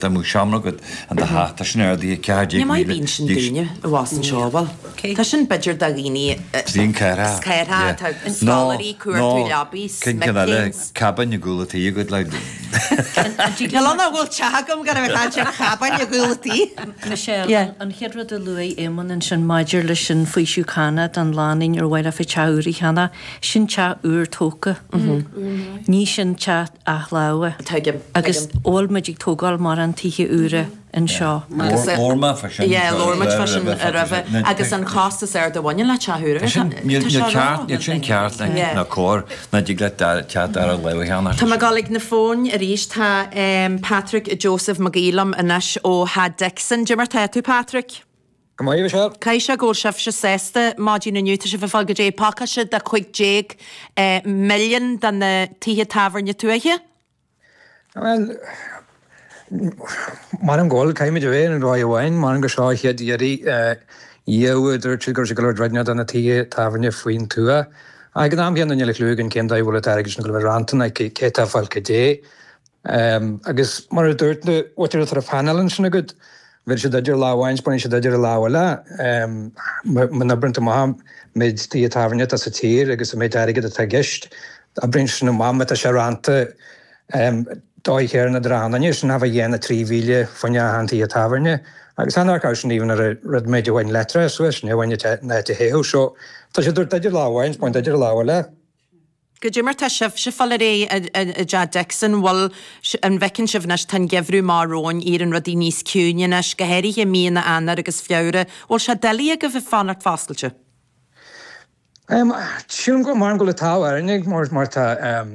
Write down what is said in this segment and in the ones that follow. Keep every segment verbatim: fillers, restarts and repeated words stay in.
Dá mbeadh seomra agat in do theach, tá sin ardaithe ceathair déag Ní maith míle bíonn sin dís. daoine i bhfás an seo, bhuel. Tá sin b'fhéidir do dhaoine Bíonn ceithre. ceithre, Yeah. tá Nó, scoláirí, cuartú nó leabaí, cinn ceann eile, smic léinn. cabin i gcúl an tí agat le. Níl ann ach bhfuil teach agam gan a bheith caint ar chabin i gcúl an tí. Michelle, Yeah. an chéad rud a luaigh Éamonn ansin maidir leis an faoiseamh cánach don lánúin ar mhaith leofa teach úr a cheannach, sin teach úr tógtha. Ní sin teach athlámhe. Tuigim, Agus tuigim. bhfuil muid ag tógáil mórán tithe úra anseo. Agus, eh, Labhair mé fá sin Yeah, labhair muid fá sin roimhe, roimhe. Agus an costas ar do bhaineann le teach úr. Tá sin, níl Tá sé níl ceart, rá. níl sin ceart Yeah. ná cóir ná dtig leat dar- teach dara láimhe a cheannach. Tá mé ag dul ag na fóin arís. Tá em, Patrick Joseph Mac Aoidh liom anois ó Theach Dixon. Cad é mar tá tú, Patrick? Go maith, Michelle. Caithfidh sé go bhfuil sibhse sásta maidin inniu, tá sibh ag fáil goidé pacáiste de cúig déag eh, milliún do na tithe tábhairne tuaithe? Well, M'anam go bhfuil, caithfimid a bheith ar dóigh amháin, m'anam gur seo an chéad iarraidh dhiaidh a dúirt siad go raibh sé go leor druideanna do na tithe tábhairne faoin tuath. Ag an am chéanna níl a chliú againn cén dóigh a bhfuil an t-airgead sin ag dul a bheith rannta ná cé atá ag fáil cad é. Agus mar a dúirt na mhuintir atá ar an phainéal ansin agat, bheir siad idir lámh amháin is baineann siad idir an lámh eile. Má oibríonn tú amach an méid tithe tábhairne atá sa tír agus an méid airgid atá i gceist, oibríonn sin amach má tá sé rannta dóigh chéanna dránanna sin a bheith dhéana trí mhíle fá choinne achan tigh tábhairne. Agus an ar sin even ar rud méid a bhain letra suas, ní bhain na te théú, so tá sé dúirt idir lámh amháin is baint idir lámh eile. Goidé mar tá sibhse ag fáil ar aghaidh i dTeach Dixon, bhfuil an bhfeiceann sibh anois, tá an geimhreadh amach romhainn, éiríonn rudaí níos ciúine anois, go háirithe míonna Eanáir agus Feabhra. Bhfuil sé doiligh agaibh ag fanacht foscailte? Sílim go mar go bhfuil an t-ádh orainn mar mar tá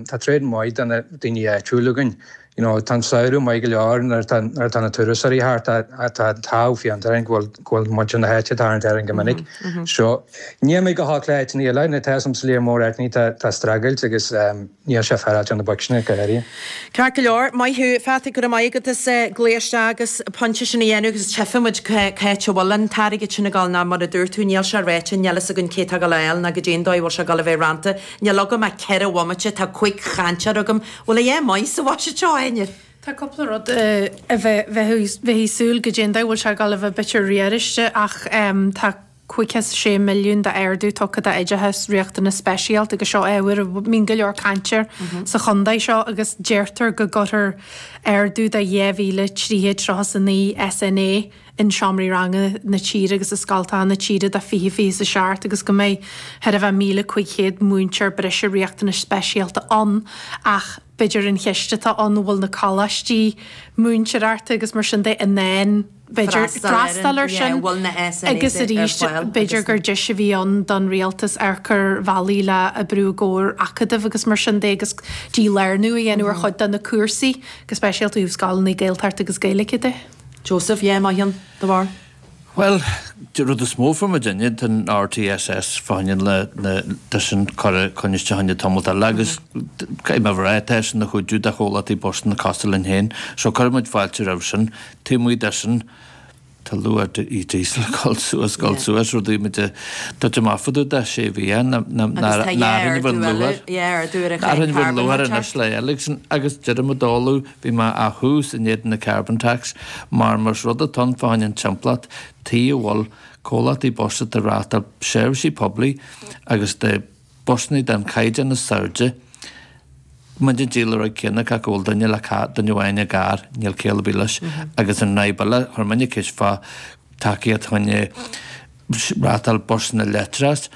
tá tréad maith de na daoine áitiúla againn. You know, tá an samhradh maith go leor nuair atá nuair atá na turasóirí thart, tá tá an t-ádh fiánta orainn go bhfuil go bhfuil muintir na háite ag tarraingt orainn go minic. So níl mé go holc le áiteanna eile, nó tá sa léar mór áiteanna tá tá streachailt agus níl sé féaráilte ar na boic sin go háirithe. Ceart go leor, maith thú, Phatrick, go raibh maith agat as glaoch isteach agus pointe sin a dhéanamh agus tchífidh muid cá háit a bhfuil an t-airgead sin ag dul ná mar a dúirt tú, níl sé ráite, níl fhios againn cé tá ag dul a fháil ná goidé an dóigh a bhfuil sé ag dul a bheith rannta. Níl agam ach ceithre bhomaite, tá cúig chainteoir agam. Bhfuil a dhath maith sa bhuiséad seo, Áine? Tá cúpla rud a bheith bheith súil goidé an dóigh bhfuil sé ag dul a bheith b'fhéidir riaráiste ach tá cúig chéad sé milliún d'ardú tugtha d'oideachas riachtanas speisialta agus seo ábhar a mbíonn go leor cainte air sa chontae seo agus deirtear go gcuirfear ardú de dhá mhíle trí chéad tríocha a naoi S N A in seomraí ranga na tíre agus i scoltacha na tíre do fiche fiche is a seacht agus go mbeidh thar a bheith míle cúig chéad múinteoir breise riachtanais speisialta ann ach b'fhéidir an cheist atá ann bhfuil na coláistí múinteoireachta agus mar sin de in ann b'fhéidir freastal air sin agus arís b'fhéidir gur deis a bhí ann don rialtas ar chur bhealaí le oibriú i gcomhar acadaimh agus mar sin de agus dílárnú a dhéanamh ar chuid de na cúrsaí go speisialta ó scoileanna Gaeltachta agus Gaeilge de. Joseph, yeah, maith an de bharr. Well, rud is mó for muidinne den R T S S fáin le le sin chur coiste hanne tamalt eile agus me rá sin na chuidú de chomhlachtaí bus na cosúil linn féin, so cuirimid fáilte roimh sin, taobh de sin tá luach i diesel ag dul suas dul suas rudaí muid tá amach de sé bhí luar anois le eile agus deirim dóú bhí má a thús in éadan na carbon tax mar mar rud atá fáin an timpeallacht tí a bhfuil comhlachtaí bus ag reáchtáil seirbhísí poiblí agus de busanna den chaighdeán is airde. Muid ag díol ar céanna go bhfuil duine le duine amháin i gcarr, níl céile bí leis agus an fhadhb eile chuir muidne ceist fá tacaíocht choinne reáchtáil busanna leictreach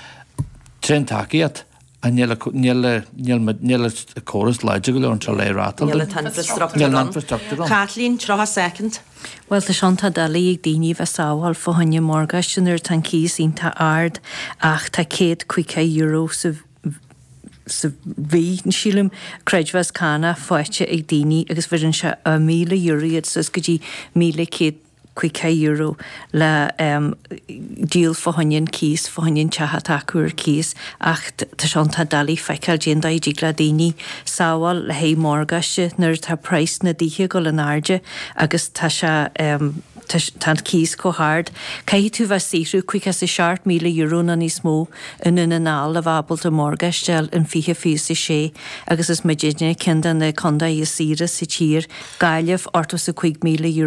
tréan tacaíocht a níl níl córas láidir go leor anseo le reáchtáil. Níl an t-infrastruchtúr Níl an ann. infrastruchtúr ann. Kathleen, tríocha soicind. Well tá sé iontach doiligh ag daoine bheith sábháil fá choinne morgáiste nuair atá an cíos iontach ard ach tá céad caoga euro sa sa mhí sílim creidmheas cánach faighte ag daoine agus bheireann sé a míle euro iad suas go dtí míle céad caoga euro le um, díol fá choinne an cíos fá choinne an teach atá acu ar cíos ach tá sé iontach doiligh feiceáil cén dóigh a dtig le daoine sábháil le haghaidh morgáiste nuair atá praghas na dtithe ag dul in airde agus tá sé um, Tá an cíos chomh hard. Caithfidh tú bheith saothrú caoga is a seacht míle euro nó níos mó i nDún na nGall le bheith ábalta morgáiste a fháil in fiche fiche a sé agus is muidne ceann de na contaetha is saoire sa tír, Gaillimh, ochtó is a cúig míle euro.